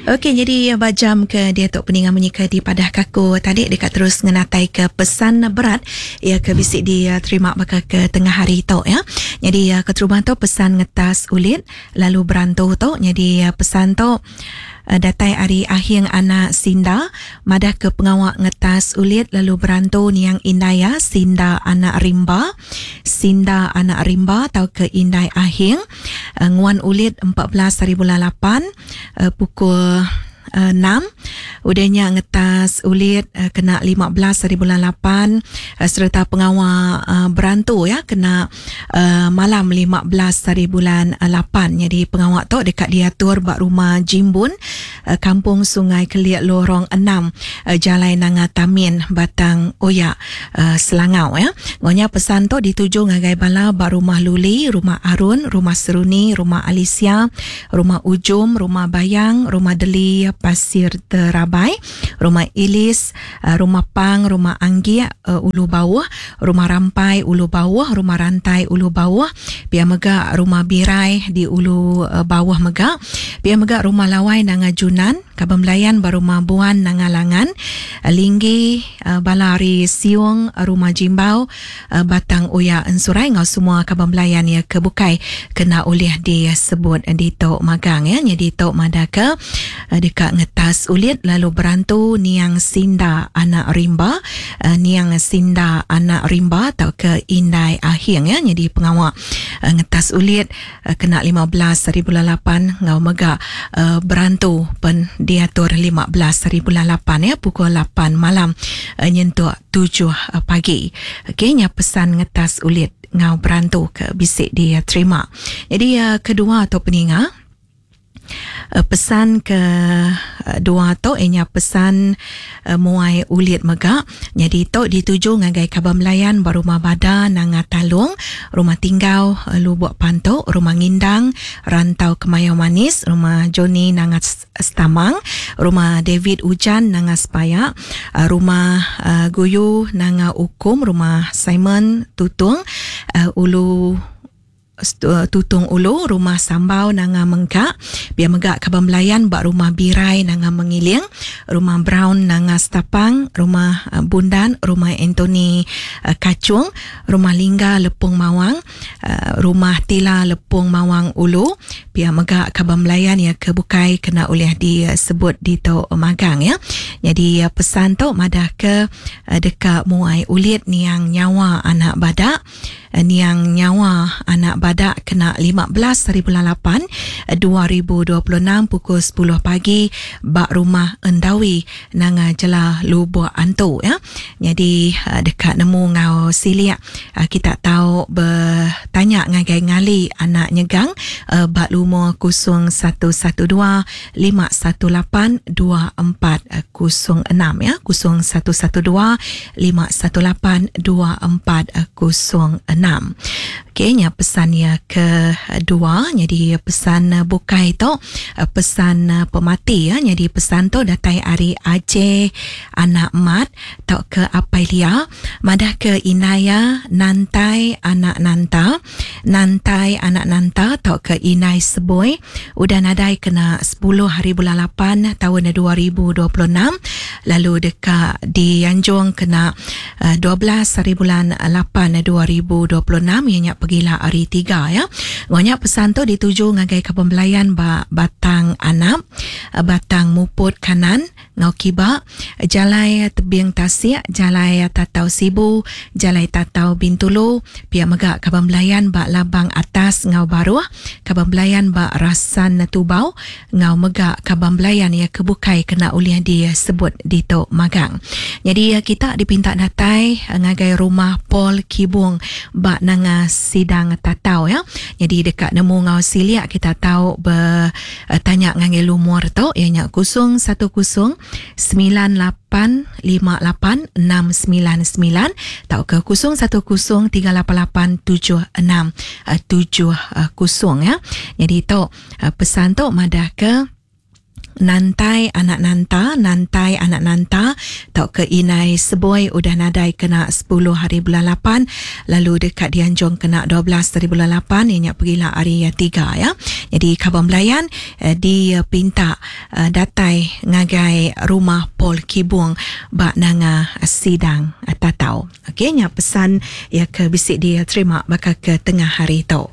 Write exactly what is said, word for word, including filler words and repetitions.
Okey, jadi ba jam ke diatu peninga munyi ke dipadah ka aku tadi deka terus ngenatai ke pesan berat ia ke bisi diterima baka ke tengah hari tu ya. Jadi keterubah tu pesan ngetas ulit lalu berantu tu. Jadi pesan tu datai ari Ahing Anak Sinda madah ke pengawa ngetas ulit lalu berantu niang indai iya Sinda Anak Rimba. Sinda Anak Rimba tau ke indai Ahing nguan ulit empat belas hari bulan lapan pukul enam. Udah nya ngetas ulit kena lima belas hari bulan lapan sereta pengawa berantu ya kena malam lima belas hari bulan lapan. Jadi pengawa tu dekat diatur ba rumah Jimbun, Kampung Sungai Kelik Lorong enam, Jalai Nanga Tamin, Batang Oya, Selangau ya. Ngonya pesan tu dituju ngagai bala ba rumah Luli, rumah Arun, rumah Seruni, rumah Alicia, rumah Ujum, rumah Bayang, rumah Deli Pasir Terabai, rumah Ilis, rumah Pang, rumah Anggiak Ulu Bawah, rumah Rampai Ulu Bawah, rumah Rantai Ulu Bawah, pia mega rumah Birai di Ulu Bawah mega, pia mega rumah Lawai Nanga Junan, Kaban Belayan ba rumah Buan Nanga Langan, Linggi Balari Siung, rumah Jimbau, Batang Oya Ensurai ngau semua kaban belayan ya ke bukai kena oleh disebut di tok magang ya. Jadi tok madaka dekat ngetas ulit lalu berantu niang Sinda Anak Rimba, niang Sinda Anak Rimba atau ke Indai Ahing ya. Jadi pengawak ngetas ulit kena lima belas hari bulan lapan ngau mega berantu pen diatur lima belas hari bulan lapan ya pukul lapan malam nyentuk tujuh pagi. Okey, nya pesan ngetas ulit ngau berantu ke bisik dia terima. Jadi kedua atau peninga pesan ke dua tu ianya pesan muai ulit mega. Jadi tu dituju ngagai Kaban Belayan ba rumah Bada Nanga Talung, rumah Tinggau Lubuk Pantuk, rumah Ngindang Rantau Kemayau Manis, rumah Johnny Nanga Stamang, rumah David Ujan Nanga Sepaya, rumah Guyu Nanga Ukum, rumah Simon Tutung Ulu Tutung Ulu, rumah Sambau Nanga Mengkak, biar megak Kaban Belayan bak rumah Birai Nanga Mengiling, rumah Brown Nanga Stapang, rumah Bundan, rumah Anthony Kacung, rumah Lingga Lepung Mawang, rumah Tila Lepung Mawang Ulu, biar megak Kaban Belayan ya ke bukai kena oleh disebut di tok magang ya. Jadi pesan tok madah ke dekat muai ulit niang nyawa anak badak, niang nyawa anak badak kena lima belas hari bulan lapan dua ribu dua puluh enam pukul sepuluh pagi bak rumah Endawi Nanga Jela Lubuk Antu ya. Jadi dekat nemu ngau siliak kita tahu bertanya ngagai ngali anak nyegang bak lumur kosong satu satu dua lima satu lapan dua empat kosong enam ya, kosong satu satu dua lima satu lapan dua empat kosong enam. Okey, nya pesan ya kedua. Jadi pesan bukai tu pesan pemati ya. Jadi pesan tu datai ari Aceh anak mat tau ke Apai Lia madah ke Inaya Nantai anak Nanta, Nantai anak Nanta tau ke Inai Seboi udah nadai kena sepuluh hari bulan lapan tahun dua ribu dua puluh enam, lalu dekat dianjung kena dua belas hari bulan lapan dua ribu dua puluh enam ianya pergilah hari tiga ya. Banyak pesan tu dituju ngagai Kaban Belayan ba Batang Anap, Batang Muput Kanan, Ngau Kiba, Jalai Tebing Tasik, Jalai Tatau Sibu, Jalai Tatau Bintulu, pihak mega Kaban Belayan ba Labang Atas Ngau Baruh, Kaban Belayan ba Rasan Tubau, Ngau mega Kaban Belayan ya kebukai kena ulih disebut di tok magang. Jadi kita dipinta datai ngagai rumah Paul Kibung ba Nanga Sidang Tatau ya. Jadi dekat nemu ngau siliak kita tahu bertanya ngangai lumur tu ianya kosong satu kosong sembilan lapan lima lapan enam sembilan sembilan atau ke kosong satu kosong tiga lapan lapan tujuh enam tujuh kosong ya. Jadi tu pesan tu madah ke Nantai anak Nanta, Nantai anak Nanta tau ke Inai Seboi udah nadai kena sepuluh hari bulan lapan, lalu dekat dianjung kena dua belas hari bulan lapan, ianya pergilah hari tiga ya. Jadi kaban belayan eh, dipinta eh, datai ngagai rumah Paul Kibung bak nanga sidang tatau. Okey, nya pesan ya ke bisik dia terima bakal ke tengah hari tu.